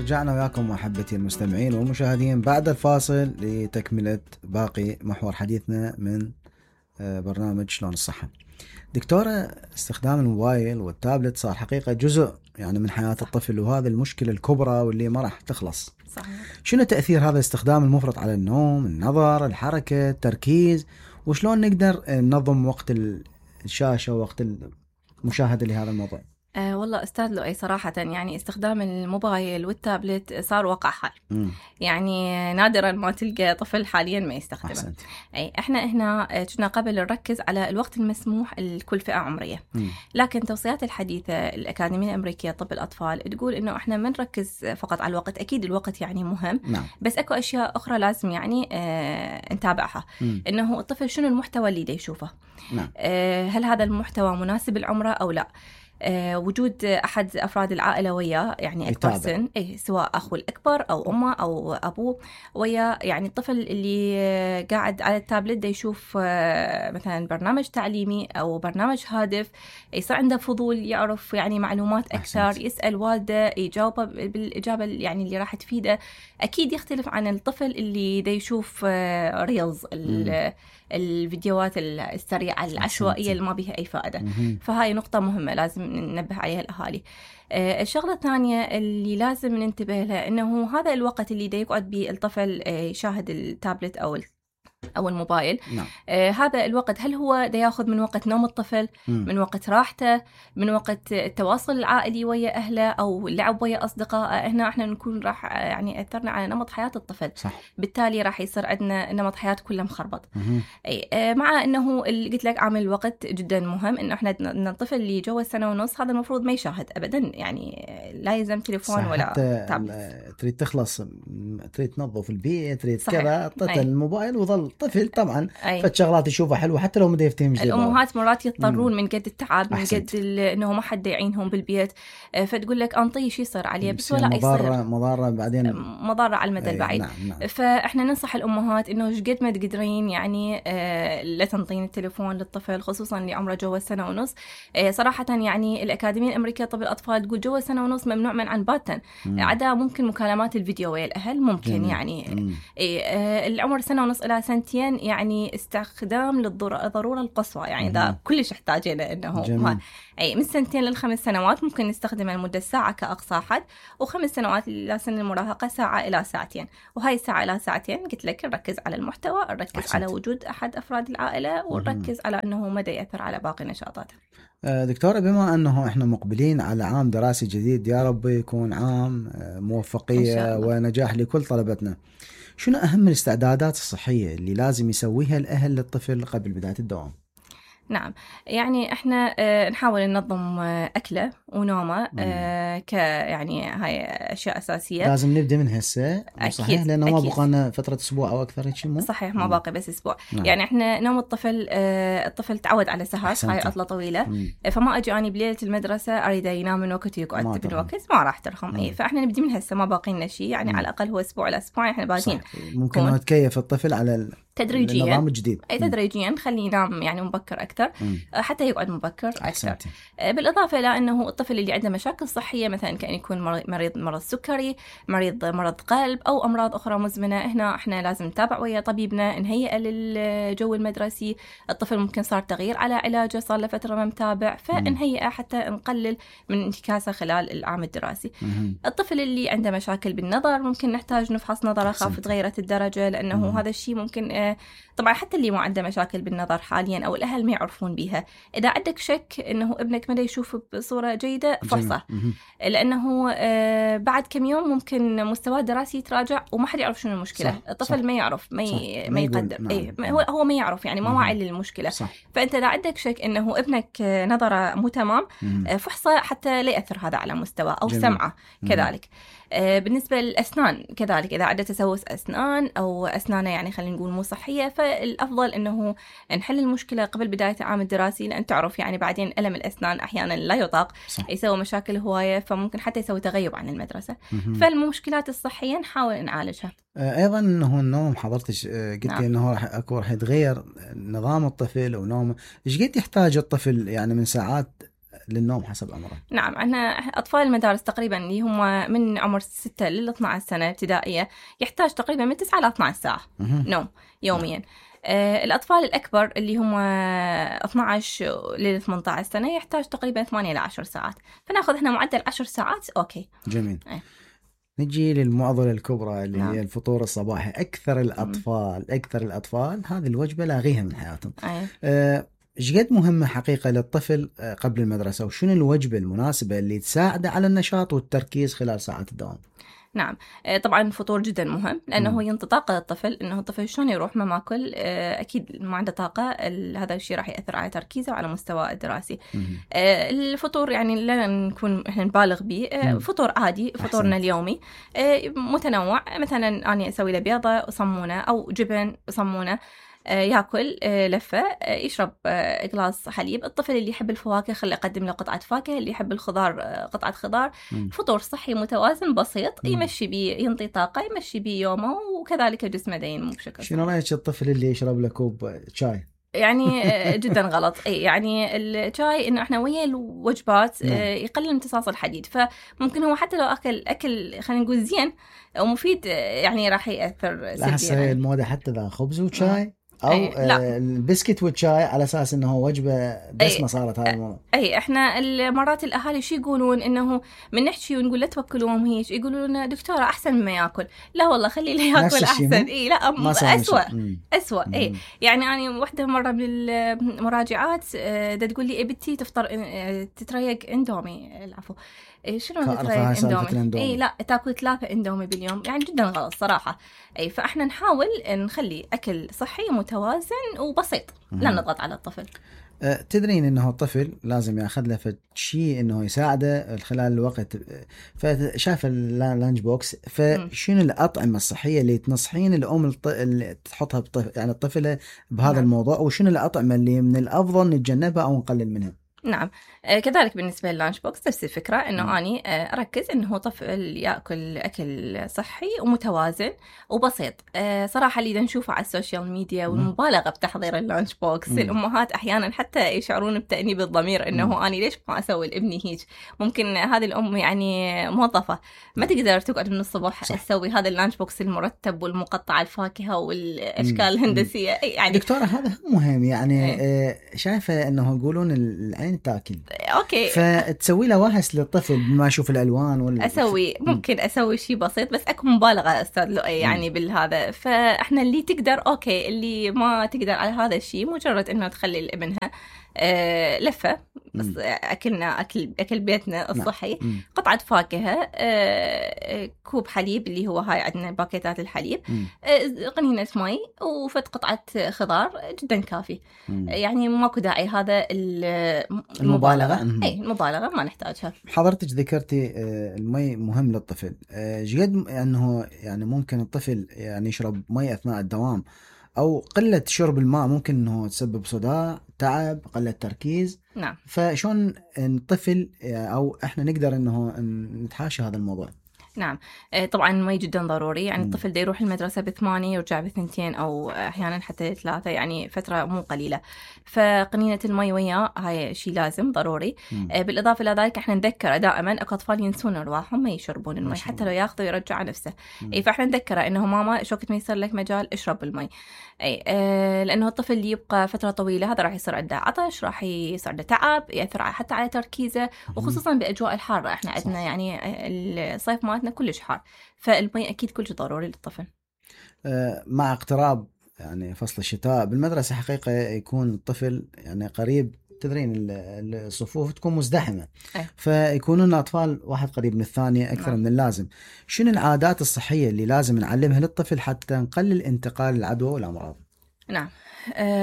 رجعنا وياكم أحبتي المستمعين والمشاهدين بعد الفاصل لتكملة باقي محور حديثنا من برنامج شلون الصحة. دكتورة، استخدام الموبايل والتابلت صار حقيقة جزء يعني من حياة الطفل، وهذا المشكلة الكبرى واللي ما راح تخلص. صحيح. شنو تأثير هذا الاستخدام المفرط على النوم، النظر، الحركة، التركيز، وشلون نقدر ننظم وقت الشاشة ووقت المشاهدة لهذا الموضوع؟ والله أستاذ لؤي صراحة يعني استخدام الموبايل والتابلت صار واقع حال. يعني نادرا ما تلقى طفل حاليا ما يستخدمه. أحسنت. أي إحنا هنا كنا قبل نركز على الوقت المسموح لكل فئة عمرية. لكن توصيات الحديثة الأكاديمية الأمريكية طب الأطفال تقول إنه إحنا ما نركز فقط على الوقت، أكيد الوقت يعني مهم. نعم. بس أكو أشياء أخرى لازم يعني نتابعها. إنه الطفل شنو المحتوى اللي يشوفه. نعم. هل هذا المحتوى مناسب لعمره أو لا؟ وجود أحد أفراد العائلة وياه يعني أكبر سن، سواء أخوه الأكبر أو أمه أو أبوه وياه. يعني الطفل اللي قاعد على التابلت ده يشوف مثلا برنامج تعليمي أو برنامج هادف، يصير عنده فضول يعرف يعني معلومات أكثر. أحسنت. يسأل والده يجاوبه بالإجابة يعني اللي راح تفيده. أكيد يختلف عن الطفل اللي ده يشوف ريلز الفيديوهات السريعة العشوائية اللي ما بيها أي فائدة. فهاي نقطة مهمة لازم ننبه عليها الأهالي. الشغلة الثانية اللي لازم ننتبه لها إنه هذا الوقت اللي دا يقعد به الطفل يشاهد التابلت أو الموبايل. نعم. هذا الوقت هل هو دا ياخذ من وقت نوم الطفل، من وقت راحته، من وقت التواصل العائلي ويا أهله أو اللعب ويا أصدقائه. هنا إحنا نكون راح يعني أثرنا على نمط حياة الطفل. صح. بالتالي راح يصير عندنا نمط حياة كله مخربط. مع إنه اللي قلت لك عامل الوقت جدا مهم، إنه إحنا الطفل اللي جوا سنة ونص هذا المفروض ما يشاهد أبدا، يعني لا يلزم تليفون ولا تابلت. تريد تخلص، تريد تنظف البيت، تريد كذا، طفل الموبايل وظل طفل طبعا فالشغلات يشوفها حلوة حتى لو ما يفتهم. الأمهات مرات يضطرون من قد التعب، من قد إنه ما حد يعينهم بالبيت، فتقول لك أنطيه شي يصير عليه، بس ولا يصير مضارة بعدين، مضارة على المدى البعيد. نعم. فإحنا ننصح الأمهات إنه قد ما تقدرين يعني لا تنطين التليفون للطفل، خصوصا اللي عمره جوا سنة ونص. صراحة يعني الأكاديمية الأمريكية طب الأطفال تقول جوا سنة ونص ممنوع منعا باتا، عدا ممكن مكالمات الفيديو ويا الأهل ممكن. يعني العمر سنة ونص إلى سنتين يعني استخدام للضرورة القصوى، يعني ده كلش احتاجينه إنه من 2 ل5 سنوات ممكن نستخدمه لمدة ساعة كأقصى حد، و5 سنوات إلى سن المراهقة ساعة إلى ساعتين. وهاي ساعة إلى ساعتين قلت لك نركز على المحتوى، نركز أحسنت. على وجود أحد أفراد العائلة، ونركز على أنه مدى يأثر على باقي نشاطاته. دكتورة، بما أنه إحنا مقبلين على عام دراسي جديد، يا رب يكون عام موفقية ونجاح لكل طلبتنا، شنو أهم الاستعدادات الصحية اللي لازم يسويها الأهل للطفل قبل بداية الدوام؟ نعم، يعني احنا نحاول ننظم أكله ونومه يعني هاي أشياء أساسية لازم نبدأ من هسه. صحيح، لأنه ما بقانا فترة أسبوع أو أكثر. صحيح، ما باقي بس أسبوع. يعني احنا نوم الطفل تعود على سهر، هاي عطلة طويلة. فما أجي أنا بليلة المدرسة أريد ينام من وقت ويقعد من وقت، ما راح ترخم. فاحنا نبدأ من هسه، ما باقي لنا شيء، يعني على الأقل هو أسبوع إلى أسبوعين احنا بادين. ممكن نتكيف الطفل على تدريجيا النظام الجديد. تدريجيا خليه ينام يعني مبكر أكثر، حتى يقعد مبكر أكثر. بالإضافة إلى أنه الطفل اللي عنده مشاكل صحية، مثلا كأن يكون مرض سكري، مرض قلب أو أمراض أخرى مزمنة، هنا إحنا لازم نتابع ويا طبيبنا، نهيئة للجو المدرسي. الطفل ممكن صار تغيير على علاجه، صار لفترة ما متابع، فنهيئة حتى نقلل من انتكاسة خلال العام الدراسي. الطفل اللي عنده مشاكل بالنظر ممكن نحتاج نفحص نظره، خاف تغيرت الدرجة، لأنه هذا الشيء ممكن طبعا حتى اللي ما عنده مشاكل بالنظر حاليا أو الأهل ما يعرفون بيها، إذا عندك شك إنه ابنك ما يشوف بصورة جيدة فحصه، لأنه بعد كم يوم ممكن مستواه الدراسي يتراجع وما حد يعرف شنو المشكلة. صح. الطفل صح. ما يعرف، ما يقدر. نعم. هو ما يعرف، يعني ما واعي للمشكلة. صح. فأنت إذا عندك شك إنه ابنك نظره مو تمام، فحصه حتى لا يأثر هذا على مستواه أو سمعه. كذلك بالنسبة للأسنان كذلك، إذا عنده تسوس أسنان أو أسنانه يعني خلينا نقول مو صحية، فالأفضل إنه نحل المشكلة قبل بداية العام الدراسي، لأن تعرف يعني بعدين ألم الأسنان أحيانا لا يطاق، يسوي مشاكل هواية، فممكن حتى يسوي تغيب عن المدرسة. فالمشكلات الصحية نحاول نعالجها. أيضا أنه النوم، حضرتك قلت لي أنه راح يتغير نظام الطفل ونومه. إيش قد يحتاج الطفل يعني من ساعات للنوم حسب عمره؟ نعم، عندنا أطفال المدارس تقريبا اللي هم من عمر 6 ل 12 سنة ابتدائية يحتاج تقريبا من 9 ل 12 ساعة نوم يوميا. الأطفال الأكبر اللي هم 12 ل 18 سنة يحتاج تقريبا 8 ل 10 ساعات، فناخذ هنا معدل 10 ساعات. أوكي جميل. نجي للمعضلة الكبرى اللي هي الفطور الصباحي. أكثر الأطفال هذه الوجبة لاغيها من حياتهم. ايش قد مهمة حقيقة للطفل قبل المدرسة، وشنو الوجبة المناسبة اللي تساعده على النشاط والتركيز خلال ساعات الدوام؟ نعم، طبعا الفطور جدا مهم لأنه هو ينطي طاقة للطفل. إنه الطفل شلون يروح ما ماكل أكيد ما عنده طاقة، هذا الشيء راح يأثر على تركيزه وعلى مستوى الدراسي. الفطور يعني لا نكون إحنا نبالغ به، فطور عادي، فطورنا اليومي متنوع. مثلا أنا أسوي له بيضة وصمونة أو جبن وصمونة، ياكل لفة، يشرب قلاص حليب. الطفل اللي يحب الفواكه خلي أقدم له قطعة فاكهة، اللي يحب الخضار قطعة خضار. فطور صحي متوازن بسيط يمشي بيه، ينطي طاقة، يمشي بيه يومه، وكذلك جسمه دينمو بشكل. شنو رأيك الطفل اللي يشرب له كوب شاي؟ يعني جدا غلط. يعني الشاي انه احنا ويا الوجبات يقلل امتصاص الحديد، فممكن هو حتى لو اكل خلينا نقول زين ومفيد يعني راح ياثر سلبيا. هسه الموضه حتى ذا خبز وشاي او البسكت والشاي على اساس انه وجبه دسمه صارت هاي الموضوع. احنا مرات الاهالي شو يقولون، انه من نحكي ونقول لا توكلوهم هيك، يقولوا لنا دكتوره احسن مما ياكل. لا والله خلي له ياكل احسن. لا اسوأ. يعني انا وحده مره من المراجعات دا تقول لي بنتي تفطر تتريق اندومي، العفو شنو تتريق اندومي؟ لا تاكل 3 اندومي باليوم، يعني جدا غلط صراحه. فاحنا نحاول نخلي اكل صحي متوازن وبسيط، لا نضغط على الطفل. تدرين انه الطفل لازم ياخذ له شيء انه يساعده خلال الوقت، فشاف اللانش بوكس، فشنو الاطعمه الصحيه اللي تنصحين الام اللي تحطها يعني الطفله بهذا الموضوع، وشنو الاطعمه اللي من الافضل نتجنبها او نقلل منها؟ نعم، كذلك بالنسبة لللانش بوكس نفس الفكرة، إنه أني أركز إنه طفل يأكل أكل صحي ومتوازن وبسيط. صراحة اللي نشوفه على السوشيال ميديا والمبالغة بتحضير اللانش بوكس، الأمهات أحيانا حتى يشعرون بتأنيب الضمير إنه أني ليش ما أسوي لابني هيك. ممكن هذه الأم يعني موظفة ما تقدر تقعد من الصبح تسوي هذا اللانش بوكس المرتب والمقطع الفاكهة والأشكال الهندسية. يعني دكتورة هذا مهم يعني شايفة إنه يقولون العين تاكل. اوكي، فتسوي له وهس للطفل ما يشوف الالوان ممكن اسوي شيء بسيط، بس اكو مبالغه استاذ لؤي يعني بالهذا. فاحنا اللي تقدر اوكي، اللي ما تقدر على هذا الشيء مجرد انه تخلي لابنها لفة بس أكلنا أكل بيتنا الصحي، قطعة فاكهة، كوب حليب اللي هو هاي عندنا باكيتات الحليب، قنينة مي وفت قطعة خضار جدا كافي. يعني ماكو داعي هذا المبالغة. المبالغة ما نحتاجها. حضرتك ذكرتي المي مهم للطفل، جد أنه يعني ممكن الطفل يعني يشرب مي أثناء الدوام، أو قلة شرب الماء ممكن أنه تسبب صداع، تعب، قلة تركيز. نعم. فشون الطفل أو إحنا نقدر أنه نتحاشى هذا الموضوع؟ نعم، طبعا المي جدا ضروري. يعني الطفل دا يروح المدرسة ب8 يرجع ب2 أو أحيانا حتى 3، يعني فترة مو قليلة. فقنينة المي وياه هاي شيء لازم ضروري. بالإضافة إلى ذلك احنا نذكره دائما، أكو أطفال ينسون أرواحهم ما يشربون المي حتى لو ياخذوا يرجع نفسه. فاحنا نذكره إنه ماما شوكت ما يصير لك مجال اشرب المي. لأنه الطفل اللي يبقى فترة طويلة هذا راح يصير عنده عطش، راح يصير عنده تعب، يأثر حتى على تركيزه، وخصوصا بأجواء الحارة. احنا عندنا يعني الصيف مالتنا كلش حار، فالمي أكيد كلش ضروري للطفل. مع اقتراب يعني فصل الشتاء بالمدرسة حقيقة يكون الطفل يعني قريب، تدرين الصفوف تكون مزدحمة، فيكونون أطفال واحد قريب من الثاني أكثر من اللازم. شنو العادات الصحية اللي لازم نعلمها للطفل حتى نقلل انتقال العدوى والأمراض؟ نعم،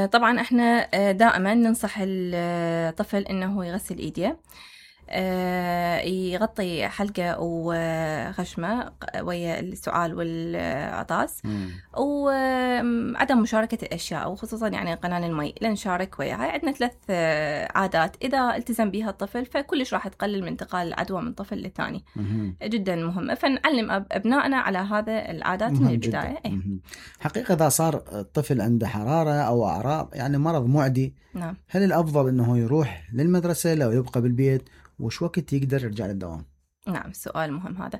طبعا احنا دائما ننصح الطفل انه يغسل ايديه. يغطي حلقة وغشمة ويا السعال والعطاس، وعدم مشاركة الأشياء وخصوصا يعني قنان المي لا نشارك وياها. عندنا 3 عادات إذا التزم بها الطفل فكلش راح تقلل من انتقال العدوى من طفل للثاني. جدا مهمة، فنعلم أبنائنا على هذا العادات من البداية. حقيقة إذا صار الطفل عنده حرارة أو أعراض يعني مرض معدي، نعم، هل الأفضل أنه يروح للمدرسة لو يبقى بالبيت؟ وش وقت يقدر يرجع للدوام؟ نعم، سؤال مهم هذا.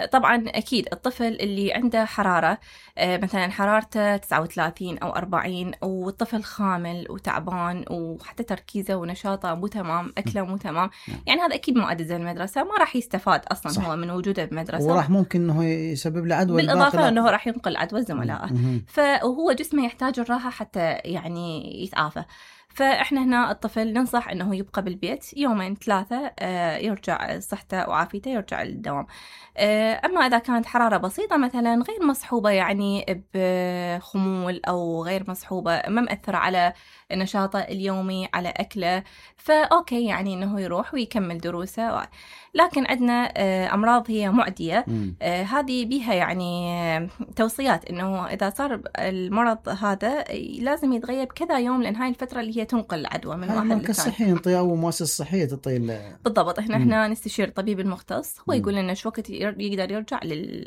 طبعا أكيد الطفل اللي عنده حرارة مثلا حرارته 39 أو 40 والطفل خامل وتعبان وحتى تركيزه ونشاطه مو تمام، أكله مو تمام، يعني هذا أكيد ما أدى المدرسة، ما راح يستفاد أصلا. صح. هو من وجوده بمدرسة وراح ممكن أنه يسبب له عدوى، بالإضافة أنه راح ينقل عدوى زملائه، فهو جسمه يحتاج الراحة حتى يعني يتعافى. فإحنا هنا الطفل ننصح أنه يبقى بالبيت 2-3 يرجع صحته وعافيته يرجع للدوام. أما إذا كانت حرارة بسيطة مثلا غير مصحوبة يعني بخمول أو غير مصحوبة ما مأثرة على نشاطه اليومي على أكله، فأوكي يعني أنه يروح ويكمل دروسه. لكن عندنا أمراض هي معدية، هذه بيها يعني توصيات أنه إذا صار المرض هذا لازم يتغيب كذا يوم، لأن هاي الفترة اللي هي تنقل العدوى من واحد للثاني. الصحي ينطي أو مؤسسة صحية تعطي بالضبط. إحنا نستشير الطبيب المختص، هو يقول لنا شو وقت يقدر يرجع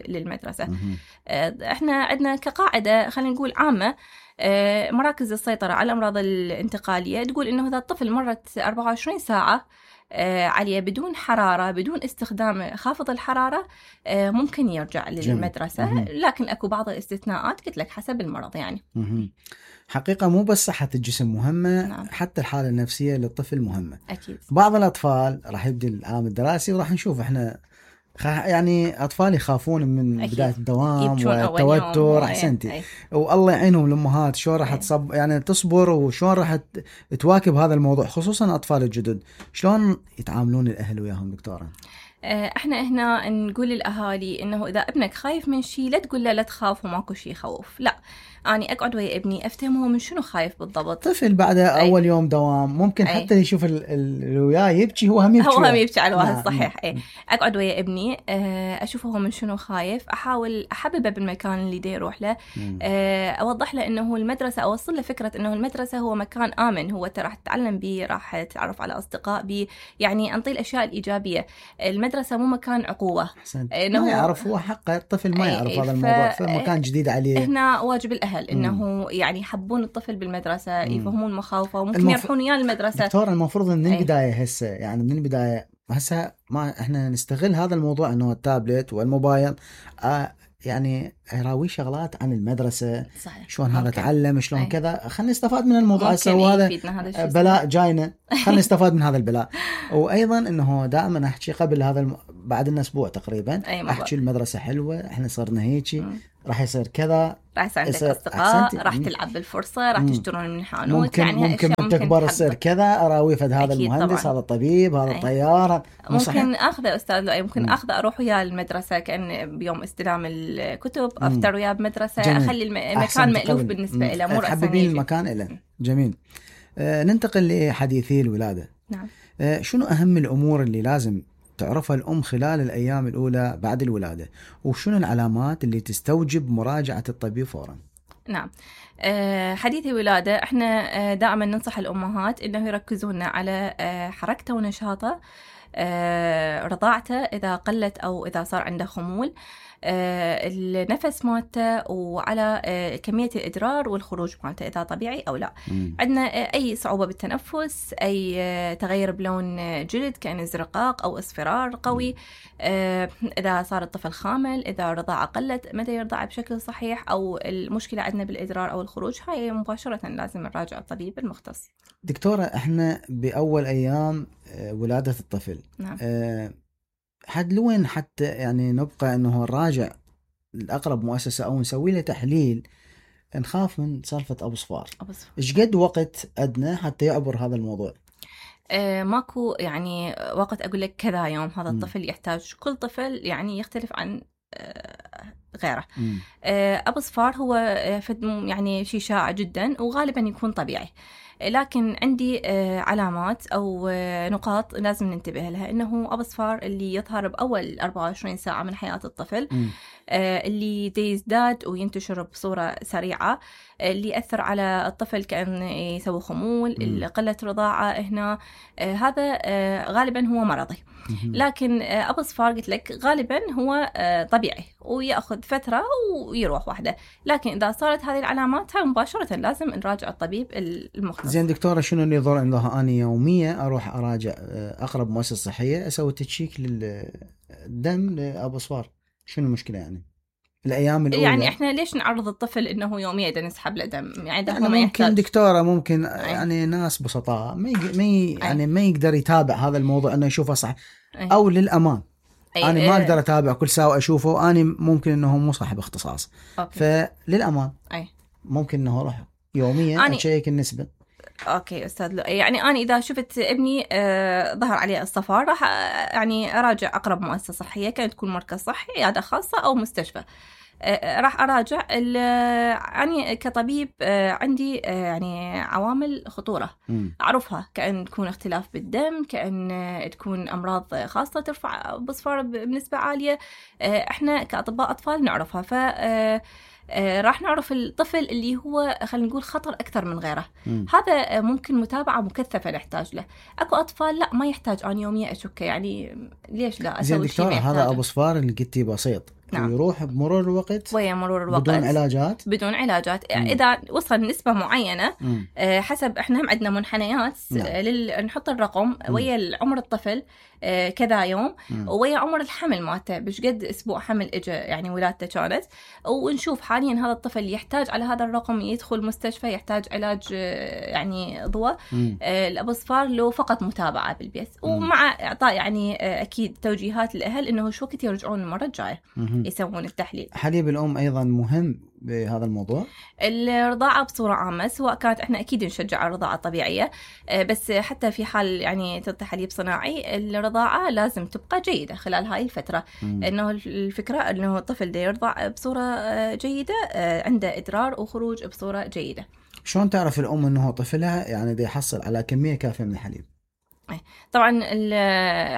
للمدرسة. إحنا عندنا كقاعدة خلينا نقول عامة، مراكز السيطرة على الأمراض الانتقالية تقول إنه إذا الطفل مرت 24 ساعة عليه بدون حرارة بدون استخدام خافض الحرارة ممكن يرجع للمدرسة. لكن أكو بعض الاستثناءات قلت لك حسب المرض يعني. حقيقة مو بس صحة الجسم مهمة، نعم. حتى الحالة النفسية للطفل مهمة. أكيد. بعض الأطفال راح يبدأ العام الدراسي وراح نشوف إحنا يعني أطفال يخافون من أكيد. بداية الدوام والتوتر. أحسنتي. والله يعينهم الأمهات شلون راح يعني تصبر وشلون راح تواكب هذا الموضوع، خصوصا الأطفال الجدد. شلون يتعاملون الأهل وياهم دكتورة؟ احنا هنا نقول للأهالي إنه إذا ابنك خايف من شيء لا تقول له لا تخاف وماكو شيء يخوف، لا، أنا أقعد ويا ابني أفتهمه من شنو خايف بالضبط. طفل بعد أول يوم دوام ممكن حتى يشوف اللي وياه يبكي هو هم يبكي على الواحد. صحيح. أقعد ويا ابني أشوفه هو من شنو خايف، أحاول أحببه بالمكان اللي دا يروح له، أوضح له إنه المدرسة، أوصل له فكرة إنه المدرسة هو مكان آمن، هو راح تتعلم بيه، راح تتعرف على أصدقاء بيه، يعني أنطي الأشياء الإيجابية. المدرسة مو مكان عقوبة. ما يعرف هو حقه، الطفل ما يعرف هذا الموضوع، فمكان جديد عليه. هنا واجب الأهل إنه يعني يحبون الطفل بالمدرسة، يفهمون مخاوفه وممكن يروحون وياه المدرسة. دكتور المفروض من البداية هسه، يعني من البداية هسه ما احنا نستغل هذا الموضوع انه التابلت والموبايل يعني يراوي شغلات عن المدرسة. صحيح. شلون هذا تعلم، شلون كذا، خلينا نستفاد من الموضوع هسه، وهذا بلاء جاينا، خلينا نستفاد من هذا البلاء. وايضا انه دائما احكي قبل هذا بعد الاسبوع تقريبا احكي المدرسة حلوة، احنا صرنا هيك، راح يصير كذا، راح يصير عندك أصدقاء، راح تلعب بالفرصة، راح تشترون من الحانوت، ممكن تكبر تصير كذا، أراوي فد هذا المهندس، هذا الطبيب، هذا الطيار. ممكن أخذ أستاذ لؤي، ممكن أخذ أروح وياه المدرسة كأن بيوم استلام الكتب، أفتر وياه بمدرسة، أخلي المكان مألوف بالنسبة له، مو رأسا تحببين المكان له. جميل. ننتقل لحديثي الولادة. نعم. شنو أهم الأمور اللي لازم تعرفها الأم خلال الأيام الأولى بعد الولادة، وشنو العلامات اللي تستوجب مراجعة الطبيب فورا؟ نعم. حديث الولادة احنا دائما ننصح الأمهات إنه يركزون على حركته ونشاطه، رضاعته إذا قلت أو إذا صار عنده خمول، النفس مالته، وعلى كمية الإدرار والخروج مالته إذا طبيعي أو لا. عندنا أي صعوبة بالتنفس، أي تغير بلون جلد كأن ازرقاق أو اصفرار قوي، إذا صار الطفل خامل، إذا الرضاعة قلت، متى يرضع بشكل صحيح، أو المشكلة عندنا بالإدرار أو الخروج، هاي مباشرة لازم نراجع الطبيب المختص. دكتورة احنا بأول أيام ولادة الطفل، نعم. حد لوين حتى يعني نبقى انه نراجع الأقرب مؤسسة او نسوي له تحليل، نخاف من سالفة ابو صفار؟ ايش قد وقت ادنى حتى يعبر هذا الموضوع؟ ماكو يعني وقت اقول لك كذا يوم هذا الطفل يحتاج، كل طفل يعني يختلف عن غيره. ابو صفار هو يعني شيء شائع جدا وغالبا يكون طبيعي. لكن عندي علامات أو نقاط لازم ننتبه لها، إنه أبو صفار اللي يظهر بأول 24 ساعة من حياة الطفل، اللي يزداد وينتشر بصورة سريعة، اللي يأثر على الطفل كأن يسوي خمول، قلة رضاعة هنا، هذا غالبا هو مرضي. لكن أبو صفار قلت لك غالبا هو طبيعي ويأخذ فترة ويروح واحدة، لكن إذا صارت هذه العلامات هاي مباشرة لازم نراجع الطبيب المختص. زين دكتورة، شنو اللي يضر إنه أنا يوميا أروح أراجع أقرب مؤسسة صحية أسوي تشيك للدم لأبو صفار؟ شنو المشكلة يعني الأيام الأولى؟ يعني إحنا ليش نعرض الطفل إنه يوميا نسحب له دم؟ يعني ده ممكن يحتاج. دكتورة ممكن يعني ناس بسطاء يعني ما يقدر يتابع هذا الموضوع إنه يشوفه صح، أو للأمان أنا ما أقدر أتابع كل ساعة أشوفه، أنا ممكن إنه مو صاحب اختصاص. فللأمان ممكن إنه أروح يوميا أشيك النسبة. أوكي أستاذ، يعني أنا إذا شفت ابني ظهر عليه الصفار راح يعني أراجع أقرب مؤسسة صحية، كانت تكون مركز صحي، عيادة خاصة أو مستشفى. راح أراجع يعني كطبيب عندي يعني عوامل خطورة أعرفها، كأن تكون اختلاف بالدم، كأن تكون أمراض خاصة ترفع بصفار بنسبة عالية، إحنا كأطباء أطفال نعرفها. ف راح نعرف الطفل اللي هو خلينا نقول خطر أكثر من غيره. هذا ممكن متابعة مكثفة نحتاج له. أكو أطفال لا ما يحتاج أنا يوميا أشك، يعني ليش لا أسوي شيء ما يحتاجه. هذا أبو صفار اللي قلتي بسيط، نعم. يروح بمرور الوقت ويا مرور الوقت بدون علاجات. إذا وصل نسبة معينة حسب إحنا هم عندنا منحنيات نحط الرقم ويا العمر الطفل كذا يوم ويا عمر الحمل مالته، بش قد أسبوع حمل إجا يعني ولادته كانت، ونشوف حاليا هذا الطفل يحتاج على هذا الرقم يدخل مستشفى، يحتاج علاج يعني ضوء الأبو صفار لو فقط متابعة بالبيت، ومع إعطاء يعني أكيد توجيهات للأهل إنه شو وقت يرجعون المرة الجاية يسوون التحليل. حليب الأم أيضا مهم بهذا الموضوع. الرضاعة بصورة عامة سواء كانت احنا أكيد نشجع الرضاعة الطبيعية، بس حتى في حال يعني تعطي حليب صناعي الرضاعة لازم تبقى جيدة خلال هاي الفترة. إنه الفكرة إنه الطفل دا يرضع بصورة جيدة، عنده إدرار وخروج بصورة جيدة. شلون تعرف الأم إنه طفلها يعني دا يحصل على كمية كافية من الحليب؟ طبعا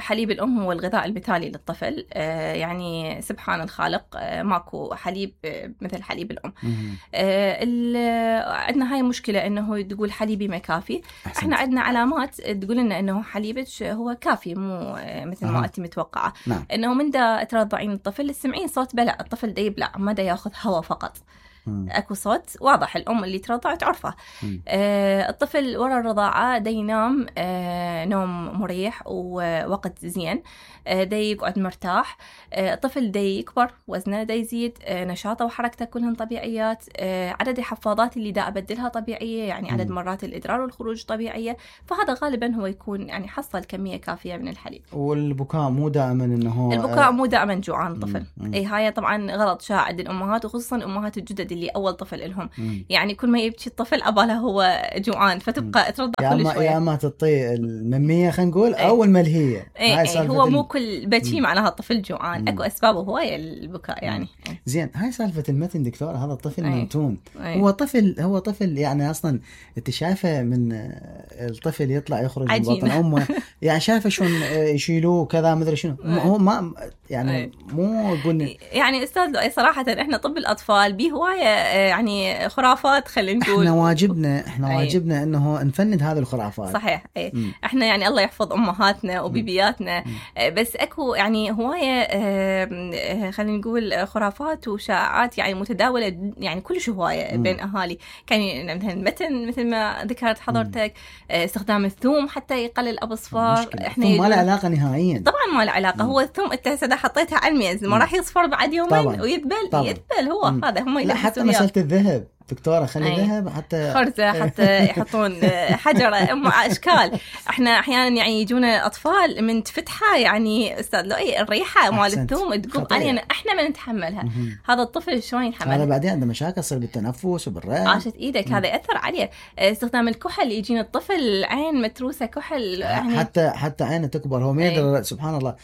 حليب الأم هو الغذاء المثالي للطفل، يعني سبحان الخالق ماكو حليب مثل حليب الأم. عندنا هاي مشكلة إنه تقول حليبي ما كافي. احنا عندنا علامات تقول لنا إنه حليبك هو كافي، مو مثل ما أنت متوقعة. إنه من دا ترضعين الطفل تسمعين صوت بلع، الطفل دا يبلع ما دا ياخذ هواء فقط. اكو صوت واضح الام اللي ترضع تعرفه. الطفل ورا الرضاعه دا ينام نوم مريح ووقت زين، دا يقعد مرتاح، الطفل دا يكبر، وزنه دا يزيد، نشاطه وحركته كلهن طبيعيات، عدد الحفاضات اللي دا ابدلها طبيعيه، يعني عدد مرات الادرار والخروج طبيعيه، فهذا غالبا هو يكون يعني حصل كميه كافيه من الحليب. والبكاء مو دائما انه البكاء مو دائما جوعان الطفل. اي هاي طبعا غلط شائع عند الامهات، وخصوصا امهات الجدد اللي اول طفل لهم، يعني كل ما يبكي الطفل أباله هو جوعان، فتبقى ترضع كل شوية. يا ما تعطيه الممية خلينا نقول أو الملهية. هو مو كل بكي معناها الطفل جوعان، أكو أسبابه هواية البكاء يعني. زين، هاي سالفة المتن دكتور، هذا الطفل منتون، هو طفل يعني أصلا أنت شايفة من الطفل يطلع يخرج من بطن أمه يعني شايفة شلون يشيلوه كذا مدري شنو، هو ما يعني مو يقول يعني أستاذ لؤي صراحة إحنا طب الأطفال به هواية يعني خرافات خلينا نقول. احنا واجبنا انه نفند هذه الخرافات. صحيح. احنا يعني الله يحفظ امهاتنا وبيبياتنا، بس اكو يعني هوايه خلينا نقول خرافات وشائعات يعني متداوله يعني كلش هوايه بين اهالي. كان مثلا المتن مثل ما ذكرت حضرتك، استخدام الثوم حتى يقلل ابو صفار. احنا ما له علاقه نهائيا، طبعا ما له علاقه. هو الثوم انت هسه حطيتها على الميز ما راح يصفر بعد يومين ويذبل هو هذا هم لا حتى مسألة الذهب دكتورة، خلي ذهب حتى خرزة حتى يحطون حجرة أشكال. احنا أحيانا يعني يجونا أطفال من تفتحها يعني أستاذ لؤي الريحة مال الثوم تقوم علينا، احنا ما نتحملها. هذا الطفل شلون يتحملها؟ هذا بعدين عنده مشاكل تصير بالتنفس وبالرئة. عاشت إيدك هذا يأثر عليه. استخدام الكحل يجينا الطفل عين متروسة كحل يعني حتى عينه تكبر، هو ما يقدر. سبحان الله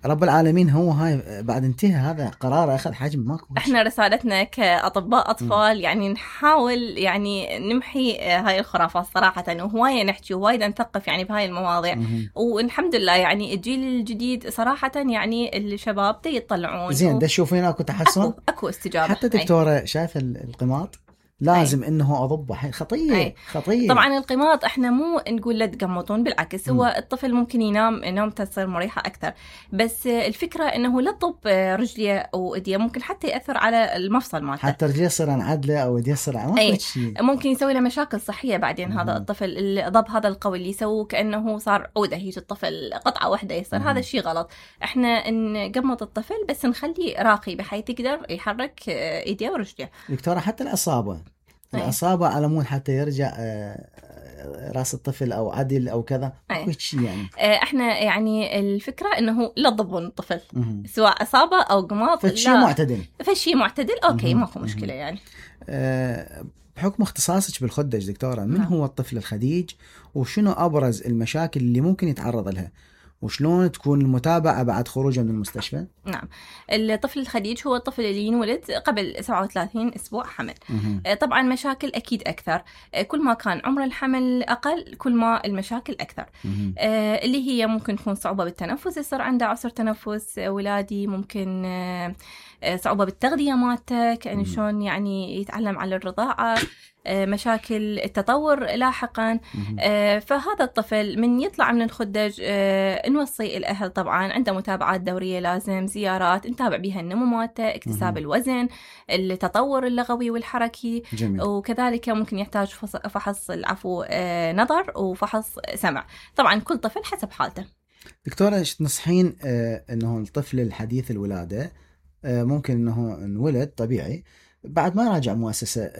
رب العالمين هو هاي بعد انتهى هذا قرار أخذ حجم ماكو. احنا رسالتنا كأطباء أطفال يعني نحاول يعني نمحي هاي الخرافات صراحة، وهواية نحكي وهواية نثقف يعني بهاي المواضيع. والحمد لله يعني الجيل الجديد صراحة يعني الشباب يطلعون زين. ده تشوفين اكو تحسن، اكو استجابة. حتى دكتورة شايف القماط لازم انه اضبه خطيه. خطيه. طبعا القماط احنا مو نقول لا تقمطون، بالعكس هو الطفل ممكن ينام نومته تصير مريحه اكثر، بس الفكره انه لا تضب رجليه او ايديه، ممكن حتى ياثر على المفصل مالته، حتى رجليه يصير عدله او يديه يصير ممكن يسوي له مشاكل صحيه بعدين. هذا الطفل الضب هذا القوي اللي يسووه كانه صار عوده، يجي الطفل قطعه واحده يصير هذا الشيء غلط. احنا نقمط الطفل بس نخليه راقي بحيث يقدر يحرك ايديه ورجليه. دكتوره حتى الأصابة على مود حتى يرجع راس الطفل أو عدل أو كذا شيء يعني. احنا يعني الفكرة انه لا تضبون الطفل سواء أصابة أو قماط، فشي معتدل اوكي ماكو مشكلة يعني. بحكم اختصاصك بالخدج دكتورة، من هو الطفل الخديج وشنو أبرز المشاكل اللي ممكن يتعرض لها وشلون تكون المتابعة بعد خروجه من المستشفى؟ نعم، الطفل الخديج هو الطفل اللي ينولد قبل 37 أسبوع حمل. طبعا مشاكل أكيد أكثر، كل ما كان عمر الحمل أقل كل ما المشاكل أكثر. اللي هي ممكن تكون صعوبة بالتنفس، يصير عنده عسر تنفس ولادي، ممكن صعوبة بالتغذية مالته، كأنه شلون يعني يتعلم على الرضاعة، مشاكل التطور لاحقا. فهذا الطفل من يطلع من الخدج نوصي الأهل طبعا عنده متابعات دورية، لازم زيارات نتابع بها النمو مالته، اكتساب الوزن، التطور اللغوي والحركي. جميل. وكذلك ممكن يحتاج فحص نظر وفحص سمع. طبعا كل طفل حسب حالته. دكتورة ايش تنصحين انه الطفل الحديث الولادة ممكن انه انولد طبيعي بعد ما راجع مؤسسة،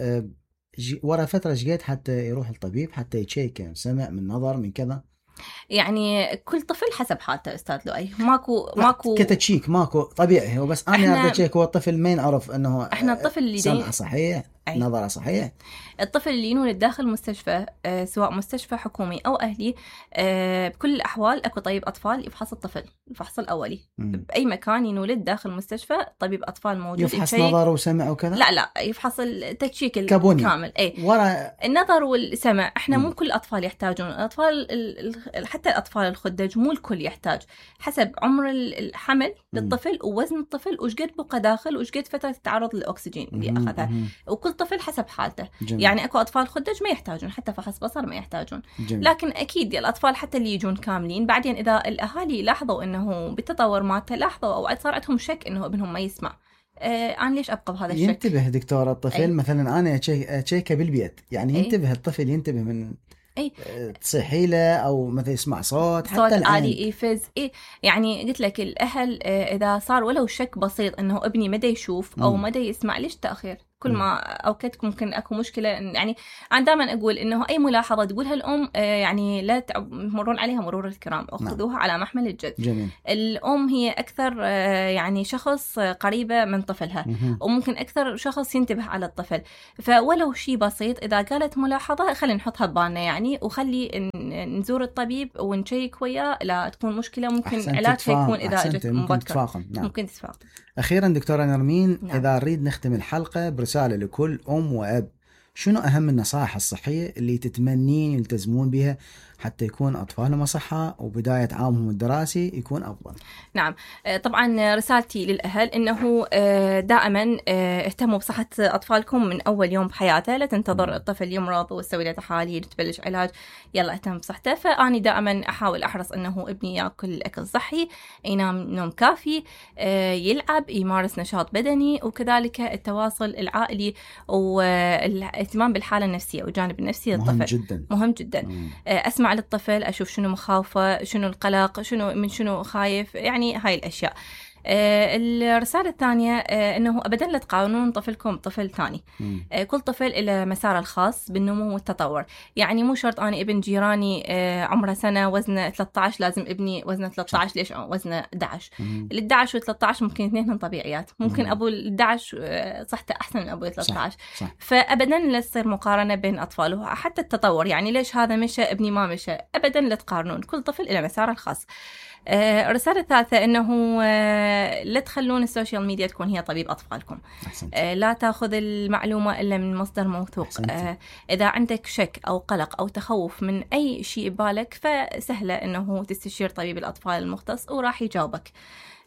ورا فترة جيت حتى يروح الطبيب حتى يتشيك سمع من نظر من كذا؟ يعني كل طفل حسب حالته استاذ لؤي، ماكو كتشيك ماكو طبيعي. هو بس انا اتشيك هو الطفل ما يعرف انه احنا الطفل اللي سمعه صحيح نظره صحيح. الطفل اللي ينولد داخل مستشفى سواء مستشفى حكومي او اهلي، بكل الاحوال اكو طبيب اطفال يفحص الطفل الفحص الاولي. باي مكان ينولد داخل مستشفى طبيب اطفال موجود يفحص نظر وسمع وكذا؟ لا يفحص التشيك الكامل. ورا النظر والسمع احنا مو كل الاطفال يحتاجون. الاطفال حتى الاطفال الخدج مو الكل يحتاج، حسب عمر الحمل للطفل ووزن الطفل وش قد بقى داخل وش قد فتره التعرض للاكسجين اللي اخذها، وكل طفل حسب حالته. جميل. يعني اكو اطفال خدج ما يحتاجون حتى فحص بصر ما يحتاجون. جميل. لكن اكيد الاطفال حتى اللي يجون كاملين بعدين اذا الاهالي لاحظوا انه بالتطور مالته، لاحظوا او صار عندهم شك انه ابنهم ما يسمع، انا ليش ابقى بهذا الشك؟ ينتبه دكتور الطفل مثلا انا اتشيكه بالبيت يعني ينتبه الطفل ينتبه من تصيحي له او مثلا يسمع صوت حتى عالي يفز يعني قلت لك الاهل اذا صار ولو شك بسيط انه ابني ما يشوف او ما يسمع، ليش تاخير؟ كل ما اوقات ممكن اكو مشكله. يعني انا دائما اقول انه اي ملاحظه تقولها الام يعني لا تمرون عليها مرور الكرام، اخذوها على محمل الجد. جميل. الام هي اكثر يعني شخص قريبه من طفلها وممكن اكثر شخص ينتبه على الطفل، فولو شيء بسيط اذا قالت ملاحظه خلينا نحطها ببالنا يعني، وخلي نزور الطبيب ونشيك وياه لا تكون مشكله، ممكن علاجها يكون اذا اجت مبكر ممكن تتفاقم. اخيرا دكتوره نرمين، اذا نريد نختم الحلقه برساله لكل ام واب، شنو اهم النصائح الصحيه اللي تتمنين يلتزمون بها حتى يكون أطفالهم أصحاء وبداية عامهم الدراسي يكون أفضل؟ نعم، طبعا رسالتي للأهل إنه دائما اهتموا بصحة أطفالكم من أول يوم بحياته، لا تنتظر الطفل يمرض وتسوي له تحاليل وتبلش علاج، يلا اهتم بصحته. فأني دائما أحاول أحرص إنه ابني يأكل أكل صحي، ينام نوم كافي، يلعب، يمارس نشاط بدني، وكذلك التواصل العائلي والاهتمام بالحالة النفسية والجانب النفسي للطفل مهم جدا. أسمع للطفل، أشوف شنو مخاوفه، شنو القلق، شنو خايف، يعني هاي الأشياء. الرسالة الثانية أنه أبدا لا تقارنون طفلكم بطفل ثاني. كل طفل له مساره الخاص بالنمو والتطور، يعني مو شرط أنا ابن جيراني عمره سنة وزنه 13 لازم ابني وزنه 13 ليش وزنه 11. ال11 و13 ممكن اثنينهم طبيعيات، ممكن أبو ال11 صحته أحسن من أبو ال13. صح. فأبدا لا تصير مقارنة بين أطفاله. حتى التطور يعني ليش هذا مشى ابني ما مشى، أبدا لا تقارنون، كل طفل له مساره الخاص. الرسالة الثالثة أنه لا تخلون السوشيال ميديا تكون هي طبيب أطفالكم. لا تأخذ المعلومة إلا من مصدر موثوق. إذا عندك شك أو قلق أو تخوف من أي شيء ببالك فسهلة أنه تستشير طبيب الأطفال المختص وراح يجاوبك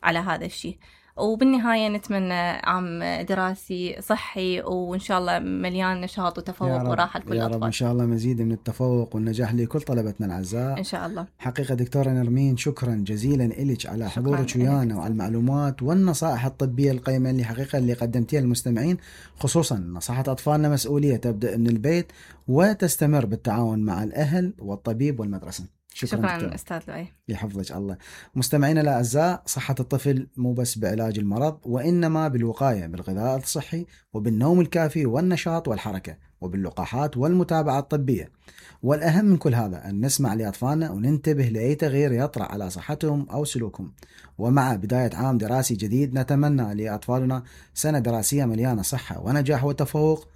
على هذا الشيء. وبالنهاية نتمنى عام دراسي صحي وإن شاء الله مليان نشاط وتفوق وراحة لكل الأطفال. يا رب إن شاء الله مزيد من التفوق والنجاح لكل طلبتنا الأعزاء إن شاء الله. حقيقة دكتورة نرمين شكرا جزيلا لك على حضورك ويانا وعلى المعلومات والنصائح الطبية القيمة اللي قدمتيها للمستمعين، خصوصا نصيحة أطفالنا مسؤولية تبدأ من البيت وتستمر بالتعاون مع الأهل والطبيب والمدرسة. شكرا أستاذ لؤي، يحفظك الله. مستمعينا الأعزاء، صحة الطفل مو بس بعلاج المرض وإنما بالوقاية بالغذاء الصحي وبالنوم الكافي والنشاط والحركة وباللقاحات والمتابعة الطبية. والأهم من كل هذا أن نسمع لأطفالنا وننتبه لأي تغيير يطرأ على صحتهم أو سلوكهم. ومع بداية عام دراسي جديد نتمنى لأطفالنا سنة دراسية مليانة صحة ونجاح وتفوق،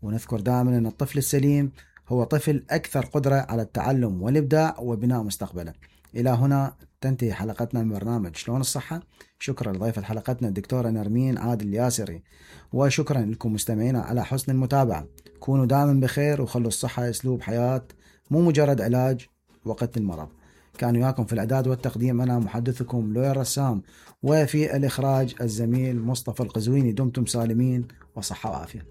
ونذكر دائما أن الطفل السليم هو طفل أكثر قدرة على التعلم والإبداع وبناء مستقبله. إلى هنا تنتهي حلقتنا من برنامج شلون الصحة. شكرا لضيفة حلقتنا الدكتورة نرمين عادل ياسري، وشكرا لكم مستمعينا على حسن المتابعة. كونوا دائما بخير وخلوا الصحة أسلوب حياة مو مجرد علاج وقت المرض. كان وياكم في الإعداد والتقديم أنا محدثكم لؤي الرسام، وفي الإخراج الزميل مصطفى القزويني. دمتم سالمين وصحة وعافية.